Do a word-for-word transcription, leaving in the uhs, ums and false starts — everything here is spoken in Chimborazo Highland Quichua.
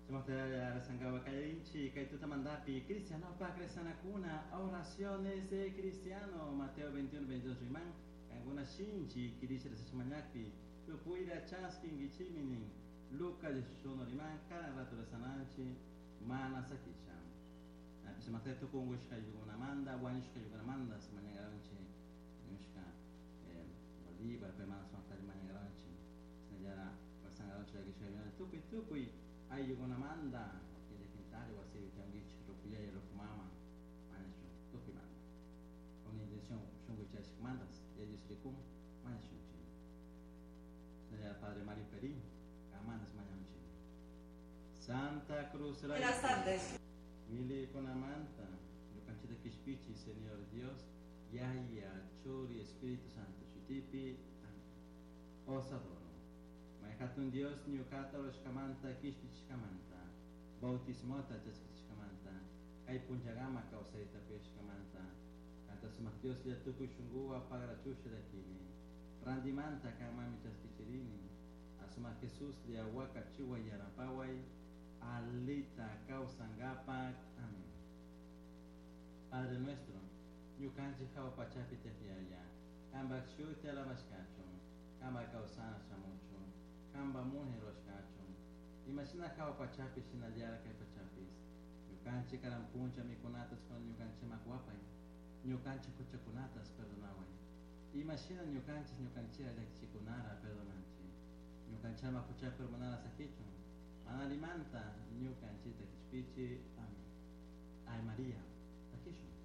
Sumaqta rezankapak kallarinchik kay tutamantapi cristianopak rezanakuna oraciones de cristiano Mateo veintiuno veintidós riman kankuna shinchi kirisha rezashmañakpi tukuyta chaskinkichikmi nin Lucas dieciocho riman cada rato rezananchik mana sakisha sumaqta tukuy unkushkaykunamanta wañushkaykunamanta mañankaranchik ñushka Bolívar paymanta sumaqta mañankaranchik shinallara rezankaranchik llakishkakuna tukuy tukuy ayllukunamanta wakin llakintari wasipi tiyankichik ruku yaya ruku mama mañashun tukuymanta con intención shunku chayashkamantas Yaya Dios rikun mañashunchik shinallara Padre Mario Perín kamanas mañanchik Santa Cruz Buenas tardes. Milikunamanta ñukanchikta kishpichi Señor Dios Yaya Churi Espíritu Santo shutipi. Amén. Os adoro. May hatun Dios ñukata rurashkamanta kishpichishkamanta bautismota chaskishkamanta kay punllakama kawsayta puyashkamanta kanta sumak Dios lla tukuy shunkuwan pagrachusha llakini rantimanta kanmanmi chaskichirini asumak Jesus lla wakachiway yanapaway alita kawsankapak. Amén. Padre nuestro, ñukanchik hawa pachapi tiyak Yaya, kanpak shuti alabashkachun, kanpak kawsana shamuchun, kanpak munay rurashkachun, imashina hawa pachapi shinallara kay pachapis, ñukanchik karan puncha mikunatas kuna ñukanchikman wapay, ñukanchik huchakunatas perdonaway, imashina ñukanchik ñukanchikta llakichikunara perdonanchik, ñukanchikman huchapi urmanara sakichun, mana allimanta ñukanchikta kishpichi. Amén. Ay María, takishun.